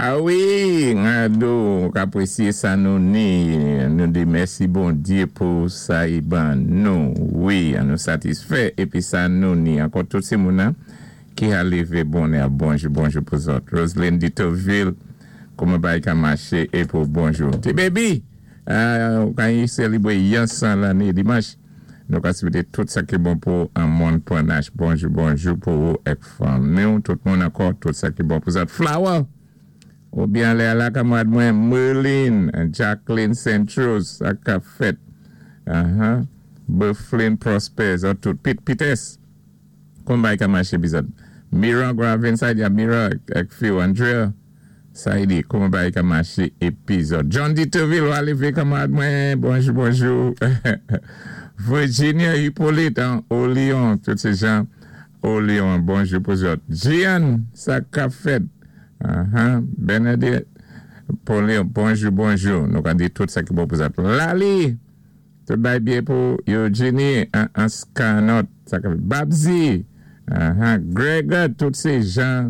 A wi, Rado, k apwésyé sa nou ni, nou di mèsi Bondyé pou sa i ban nou. Wi, an nou satisfè épi sa nou ni. Ankò tout sé moun-nan ki ka lévé bonè. Bonjou, bonjou pou zòt. Roseline Ditoville, kouman bagay ka maché é pou bonjou. Ti baby, ou ka sélébré yon 100 lanné dimanch. Nou ka swété tout sa ki bon pou an Mòn Panache. Bonjou, bonjou pou ou èk fanmi-w. Tout moun ankò, tout sa ki bon pou zòt. Flower! Ou byen alé ala kanmarad mwen Merlin, Jacqueline Saint-Rose, sa ka fèt. Bufflin Prosper, zòt tout. Pete Pites, kouman bagay ka maché pi zòt. Mira Gravin, sa di a Mira èk fi-w Andrea, sa di kouman bagay ka maché épi zòt. John Diterville, ou alévé kanmarad mwen, bonjou, bonjou. Virginia Hippolyte, an Au Lion, tout sé jan Au Lion, bonjou pou zòt. Gian, sa ka fèt. Bernadette Pauline, bonjou, bonjou. Nou ka di tout sa ki bon pou zòt. Lali, tout bagay byen pou Eugenie Anscanot, sa ka fèt. Babzi, Gregor, tout sé jan.